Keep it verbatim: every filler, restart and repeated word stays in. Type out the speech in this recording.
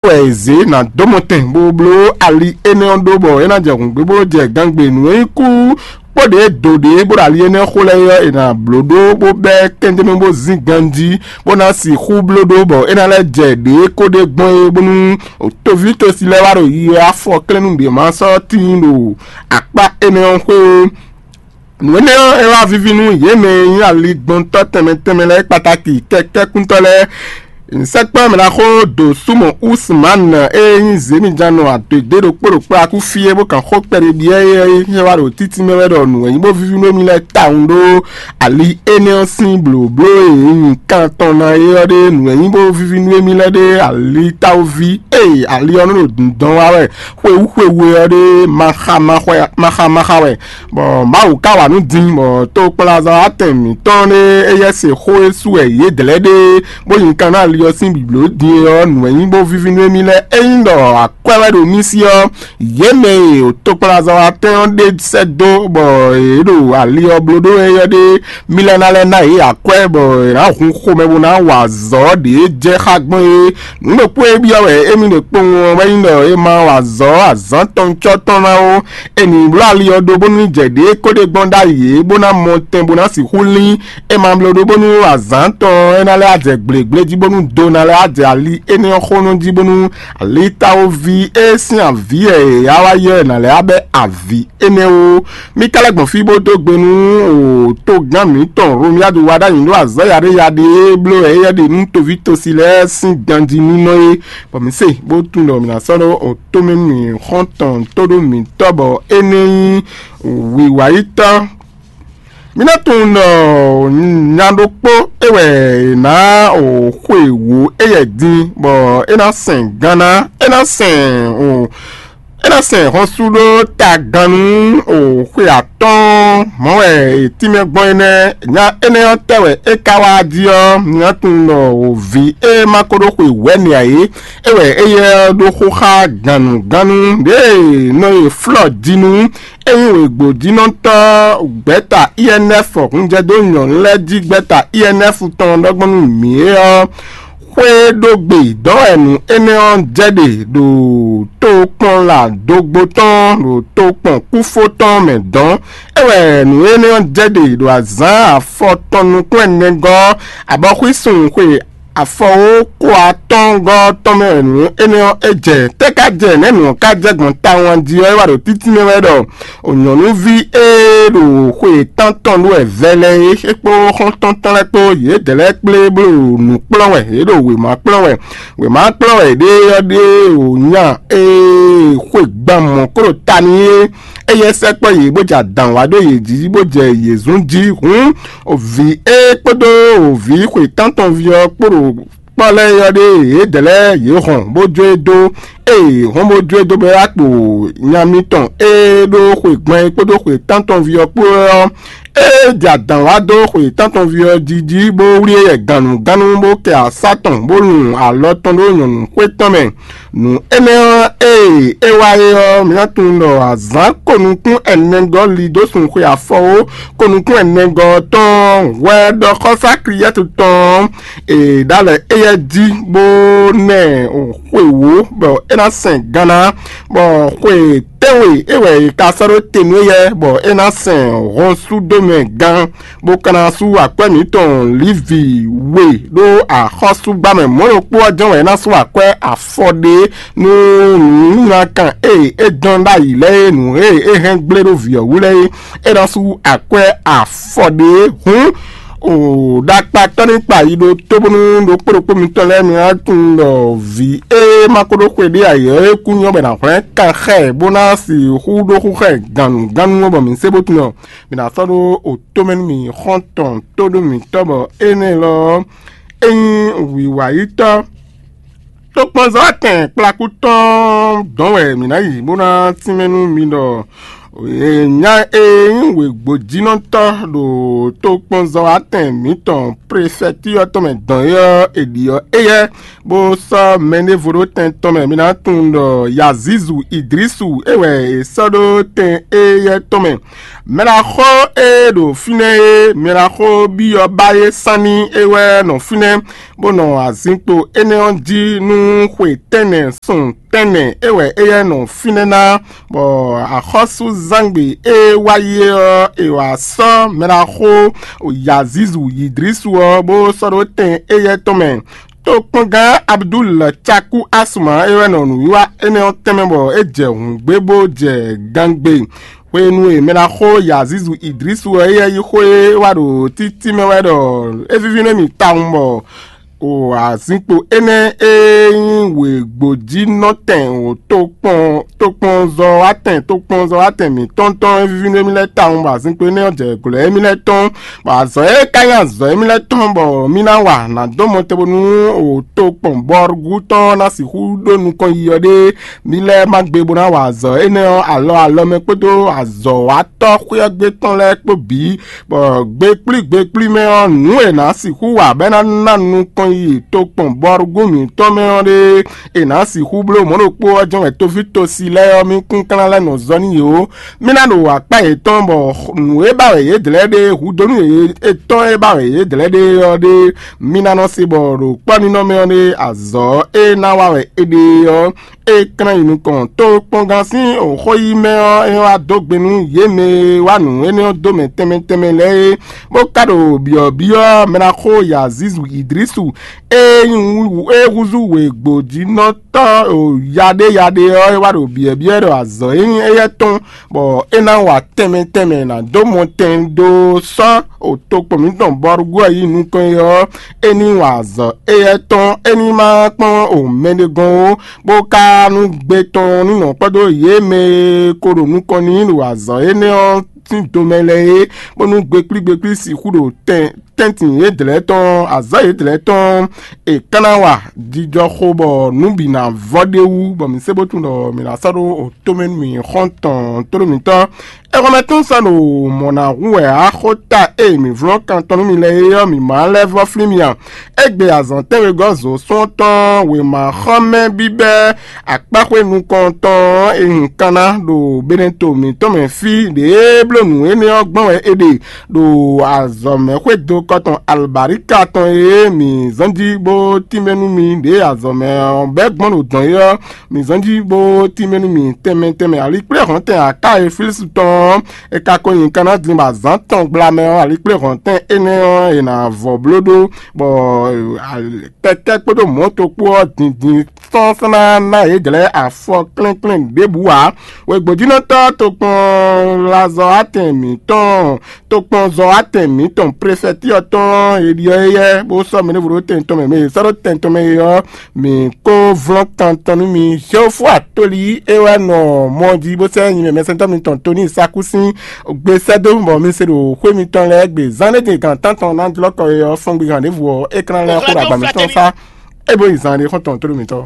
wɛ è zě ná dó mɔtɛn bó bló ali énɛ́ ɔ́ ɖó bɔ é ná jɛ hǔngbé bó jɛ gangbe nǔ e nyí kú kpó ɖě do ɖě bó ɖo ali énɛ́ xo lɛ́ɛ ɔ́, è nǎ bló ɖó bó bɛ́ kɛnjɛ́nú bó zín ganjí, bó ná sixú bló ɖó bɔ é ná lɛ́ jɛ ɖě kó ɖe gbɔn é, bónú toví tosi lɛ́ɛ wá ɖo yi wɛ afɔ klɛ́nú ɖě ma sɔ́ tíin ɖo akpá énɛ́ ɔ́ xwé ó. Nǔ énɛ́ ɔ́, é wá víví nú yě mɛ e nyí aligbɔntɔ́ tɛnmɛ tɛnmɛ lɛ́ɛ kpatáki kɛkɛ́kúntɔ́ lɛ́ɛ. Sɛkpɔ́ mɛ ná xó ɖo súnmɔ Usman e nyí Zěmijannɔ adwědé ɖokpó ɖo kplá kú fí é bó kan xó kpɛɖé byɔ́ é é wá ɖo títí mɛ wɛ ɖɔ nǔ e nyí bó víví nú émí lɛ́ɛ tawun ɖó ali énɛ́ ɔ́ sín blǒbló e è nyi kan tɔn ná é ɔ́ ɖé. Nǔ e nyí bó víví nú émí lɛ́ɛ ɖé ali táwúví e ali ɔ́ nɔ ɖo dǐndɔn wá wɛ xwewú xwewú é ɔ́ ɖé, maxa maxɔ maxa maxa wɛ. Bɔ Mawu ka wa nǔ din, bɔ tokpɔnlazɔ́watɛn mǐtɔn ɖé éyɛ́ se xó e sú wɛ yě dlɛ̌ ɖe, bó nyi kan ná ali ɔ́ sín blǐbló din é ɔ́, nǔ e nyí bó víví nú émí lɛ́ɛ é nyí ɖɔ akwɛ́ wɛ ɖo mì sí ɔ́, yě mɛ e tokpɔnlazɔ́watɛn ɔ́ ɖe sɛ́ dó bɔ yě ɖo ali ɔ́ bló ɖó é ɔ́ ɖé, mi lɛ́ ná lɛ́ ná yě akwɛ́ bɔ è nǎ hun xomɛ bó ná wa azɔ̌ ɖě jɛ xá gbɔn é. Nǔ ɖokpó e byɔ́ wɛ émí ɖe kpowun ɔ́ wɛ nyí ɖɔ è ma wa azɔ̌ azǎn tɔn cɔ́ tɔn ná ó. È nǐ bló ali ɔ́ ɖó bónú jɛ ɖě kó ɖe gbɔn ɖ'ayǐ é, bó ná mɔ tɛn bó ná sixú lín. È ma bló ɖó bónú azǎn tɔn ɔ́ é ná lɛ́ jɛ gblegblejí bónú do ná lɛ́ jɛ ali énɛ́ ɔ́ xónɔ jí bónú ali táwóví é sín avǐ e è yá wá yɔ́ ɛ ná lɛ́ bɛ́ avǐ énɛ́ ó. Mí ka lɛ́ gbɔn fí bó dó gbe nú togán mǐtɔn Romiadu wá ɖ'ayǐ ɖó azɔ̌ yaɖéyaɖé e bló wɛ éyɛ́ ɖe nú toví tosi lɛ́ɛ sín ganjí nínɔ é, bɔ mǐ se bó tunwun ɖɔ mǐ ná sɔ́ ɖó tomɛ mì xɔ́ntɔn tóɖó mǐtɔn bɔ é nɛ́ nyí wǐwáyítɔ́. Mǐ ná tunwun ɖɔ nya ɖokpó é wɛ è nǎ xwe wǒ éyɛ́ din, bɔ é ná sɛn gan ná, é ná sɛn é ná sɛn hɔnsu ɖó tagannú o xwe atɔ́ɔ́n mɔ̌ wɛ è tínmɛ gbɔn é nɛ́. Nya énɛ́ ɔ́ tɛ́ wɛ é ka wá jí ɔ́, mi ná tunwun ɖɔ o vǐ e ma ko ɖó xwe wɛ̌ nɛ ǎ é, é wɛ éyɛ́ ɔ́ ɖó xó xá gannǔgannú ɖěe nɔ e flɔ́ jinu é nyí wěgbójínɔtɔ́ gbɛ̌ta I N F hunjɛdó nyɔ̌nu lɛ́ɛ jí gbɛ̌ta I N F tɔn ɖɔgbɔ́ nú mǐ é ɔ́, xwé ɖó gbe dɔ̌ wɛ nǔ énɛ́ ɔ́ jɛ ɖe ɖo tokpɔnla dogbo tɔn ɖo tokpɔn kúfó tɔn mɛ dɔn. É wɛ nǔ énɛ́ ɔ́ jɛ ɖe ɖo azǎn afɔtɔn nukún ɛnɛgɔ́ abɔxwísun xwe afɔwó kó atɔ́ngɔ́ tɔn mɛ wɛ nǔ énɛ́ ɔ́ é jɛ. Tɛ́ ka jɛ nɛ̌ nǔ ɔ́ ka jɛ gbɔn tawun jí ɔ́, é wá ɖo títí mɛ wɛ ɖɔ o nyɔ̌nuví e ɖo xwe tántɔn ɖó wɛ vɛlɛ é, é kpó xɔ́ntɔn tɔn lɛ́ɛ kpó yědɛɛ lɛ́ɛ kplé bó ɖo nǔ kplɔ́n wɛ, yě ɖo wěma kplɔ́n wɛ. Wěma kplɔ́n wɛ ɖé ɔ́ ɖé o nya e xwe gban mɔ̌ kó ɖo ta n'i é. Éyɛ́ sɛkpɔ́ yě bó jɛ adǎn wá ɖó yě jí bó jɛ yě zun jí. Hǔn vǐ é kpódó vǐ xwe tántɔn ví ɔ́ kpó ɖo kpɔ́ lɛ́ɛ ɔ́ ɖe yědɛɛ lɛ́ɛ yě hɔn bó jó e dó. Ée hɔn bó jó e dó bɔ é wá kpo nya mitɔn e ɖó xwe gbɔn é kpódó xwe tántɔn ví ɔ́ kpó ɔ́, é jɛ adǎn wá dó xwe tántɔn ví ɔ́ jí jí bó wlí éyɛ gannugánnu bó kɛ asá tɔn bó lun alɔ tɔn ɖó nyɔ̌nu xwé tɔn mɛ. Nǔ énɛ́ ɔ́, ée é wá é ɔ́, mi ná tunwun ɖɔ azǎn konukún ɛnɛgɔ́ li dó sun xwe afɔwó konukún ɛnɛgɔ́ ɔ́ tɔn hwɛ ɖɔ xɔ́sá Kliyɛ́tu tɔn e ɖ'alɛ éyɛ́ jí bó nɛ xwe wǒ bɔ é ná sɛn ganna, bɔ xwe tɛ́nwe é wɛ è ka sɔ́ ɖó te nú éyɛ́ bɔ é ná sɛn hɔn sú dó mɛ gán, bó ka ná sú akwɛ́ mǐtɔn Livi we ɖó axɔ́súgbámɛ mɔ̌ ɖokpó ɔ́ jɛ́n wɛ é ná sú akwɛ́ afɔ ɖé nú nǔnyinylakan e é dɔn ɖ'ayǐ lɛ́ɛ é, nǔ e é hɛn gblé ɖó vǐ ɔ́ wú lɛ́ɛ é, é ná sú akwɛ́ afɔ ɖé. Hǔn o ɖakpatɔ́ ní kpa yi ɖó tóbónú ɖokpó ɖokpó mitɔn lɛ́ɛ mi ná tunwun ɖɔ vǐ e ma ko ɖó xwe ɖé ǎ é kú nyɔ́ bɔ è nǎ hwlɛ́n kan xá ɛ bó ná sixú ɖó xú xá ɛ gannugánnu ɔ́ bɔ mǐ se bó tunwun ɔ́, mǐ ná sɔ́ ɖó o tomɛ nú mì xɔ́ntɔn tóɖó mǐtɔn bɔ énɛ́ lɔ ɔ́, é nyí wǐwayítɔ́. Tokpɔnzɔ́watɛn kplakú tɔn dɔn wɛ mǐ ná yi bó ná tínmɛ nú mi ɖɔ Nya e nyí wěgbójínɔtɔ́ ɖo tokpɔnzɔ́watɛn mǐtɔn prefɛti ɔ́ tɔn mɛ dɔn é ɔ́, è ɖi ɔ́ éyɛ́, bó sɔ́ mɛɖěvo ɖó tɛn tɔn mɛ. Mi ná tunwun ɖɔ Yazizu Idrisu é wɛ è sɔ́ ɖó tɛn éyɛ́ tɔn mɛ. Mɛɖaxó e ɖo fínɛ́ é, mɛɖaxó byɔ́ ba é sán ní é wɛ nɔ fínɛ́, bó nɔ azinkpo énɛ́ ɔ́ jí nú xwe tɛ́nnɛ sun tɛ́nnɛ é wɛ éyɛ́ nɔ fínɛ́ ná, bɔ axɔ́súzángbe e wá yi é ɔ́, è wǎ sɔ́ mɛɖaxó Yazizu Idrisu ɔ́, bó sɔ́ ɖó tɛn éyɛ́ tɔn mɛ. Tokpɔngán Abdul Caku Asuma é wɛ nɔ nǔwiwa énɛ́ ɔ́ tɛnmɛ bɔ é jɛ hǔngbé bó jɛ gangbe. Hwenu e mɛɖaxó Yazizu Idrisu ɔ́ éyɛ́ yí xó e wá ɖo títí mɛ wɛ ɖɔ é víví nú mì tawun bɔ o azinkpo énɛ́ e nyí wěgbójínɔtɛn o tokpɔn tokpɔnzɔ́watɛn tokpɔnzɔ́watɛn mǐtɔn tɔn e víví nú émí lɛ́ɛ tawun bɔ azinkpo énɛ́ ɔ́ jɛ glɔ̌ émí lɛ́ɛ tɔn, bɔ azɔ̌ e ka nyí azɔ̌ émí lɛ́ɛ tɔn bɔ mí ná wa nǎ dó mɔ te bónú o tokpɔn bɔ́rúgú tɔn ná sixú ɖó nukɔn yi ɔ́ ɖé. Mí lɛ́ɛ má gbe bó ná wa azɔ̌ énɛ́ ɔ́ alɔ alɔ mɛ kpódó azɔ̌watɔ́ xwé ɔ́ gbe tɔn lɛ́ɛ kpó bǐ, bɔ gbe kplí gbe kplí mɛ ɔ́, nǔ e è nǎ sixú wa bɔ é ná ná nukɔn yi tokpɔn bɔ́rúgú mǐtɔn mɛ ɔ́ ɖe, è nǎ sixú bló mɔ̌ ɖokpó ɔ́ jɛ́n wɛ toví tosi lɛ́ɛ ɔ́, mí kúnklán lɛ́ɛ nɔ zɔ n'i ó. Mí ná ɖo akpá yětɔn bɔ nǔ e ba wɛ yě dlɛ̌ ɖe hudonu yětɔn e ba wɛ yě dlɛ̌ ɖe ɔ́ ɖe, mí ná nɔ se bɔ ɖo kpɔ́ninɔ mɛ ɔ́ ɖe azɔ̌ e ná wa wɛ é ɖe ɔ́, é klán yi nukɔn. Tokpɔngán sín xó yí mɛ ɔ́, é wá dó gbe nú yě mɛ e wá nǔ énɛ́ ɔ́ dó mɛ tɛnmɛ tɛnmɛ lɛ́ɛ é, bó ka ɖo byɔ̌byɔ́ mɛɖaxó Yazizu Idrisu e nyí wú- e húzú wěgbójínɔtɔ́ yaɖéyaɖé ɔ́, é wá ɖo byɔ̌byɔ́ ɖɔ azɔ̌ e nyí éyɛ́ tɔn, bɔ é ná wa tɛnmɛ tɛnmɛ ná dó mɔ tɛn dó sɔ́ o tokpɔn mǐtɔn bɔ́rúgú ɔ́ yi nukɔn é ɔ́, é ní wa azɔ̌ éyɛ́ tɔn, é ní ma kpɔ́n o mɛɖé gɔ́n ó, bó ka nú gbe tɔn ní nɔ kpɔ́dó yě mɛ e ko ɖo nukɔn n'i ɖo azɔ̌ énɛ́ ɔ́ sín domɛ lɛ́ɛ é, bónú gbeklígbeklí sixú ɖo tɛn tɛ́ntin yědɛlɛ́ tɔn, azɔ̌ yědɛlɛ́ tɔn, è ka ná wa jijɔxo bɔ nǔ bǐ ná vɔ ɖ'é wú, bɔ mǐ se bó tunwun ɖɔ mǐ ná sɔ́ ɖó o tomɛ nú mì xɔ́ntɔn tóɖó mǐtɔn. Exɔmɛtɔn sɔ́ ɖo mɔ̌ ná hu wɛ axɔ́ta e mǐ vlɔ́n kan tɔn nú mi lɛ́ɛ é ɔ́, mǐ má lɛ́ vɔ́ flín mi a? Égbé azɔ̌ tɛ́nwegɔ́ zǒ sɔ́ tɔn wěma xɔ́mɛ bíbɛ́ akpáxwé nukɔntɔn e hun kanna ɖo Beneto mǐtɔn mɛ fí ɖěe bló nǔ énɛ́ ɔ́ gbɔn wɛ è ɖe ɖo azɔ̌mɛ xwédo kɔtɔn alɔbǎríka tɔn e mǐ zɔ́n jí bó tínmɛ nú mi ɖě azɔ̌mɛ ɔ́ bɛ́ gbɔn ɖo dɔ̌n é ɔ́, mǐ zɔ́n jí bó tínmɛ nú mi tɛnmɛ tɛnmɛ. Alikpléhɔ̌ntɛn aká e Filísu tɔn ɔ́, è ka ko nyi kanna din bɔ azǎn tɔn gbla mɛ ɔ́, alikpléhɔ̌ntɛn énɛ́ ɔ́, è nǎ vɔ bló ɖó, bɔ kɛkɛ́ kpódó mɔ̌to kpó ɔ́, dǐndín sɔ́ sɔ́ ná ná yě jlɛ́ afɔ klɛ́nklɛ́n ɖěbǔ ǎ. Wěgbójínɔtɔ́ tokpɔn lazɔ atɛn mǐtɔn, tokpɔnzɔ atɛn mǐtɔn prefɛti ɔ́ tɔn e ɖyɔ́ éyɛ́ bó sɔ́ mɛ ɖěvo ɖó tɛn tɔn mɛ, mɛ e sɔ́ ɖó tɛn tɔn mɛ é ɔ́, mǐ kó vlɔ́n kan tɔn nú mi. Xewófú atoli é wɛ nɔ mɔ jí bó sɛ́ nyi mɛ mɛsɛntɔ́ mitɔn Toni Sakúsín gbe sɛ́ dó bɔ mi se ɖo xwé mitɔn lɛ́ɛ gbe. Zán ɖé din gan tántɔn ná jlɔ́ kɔ é ɔ́, fɔ́n gbe gan ɖěvo ɔ́, é klán lɛ́ xó ɖo agba mitɔn sá, é bó yi zán ɖé xɔ́ntɔn tóɖó mitɔn.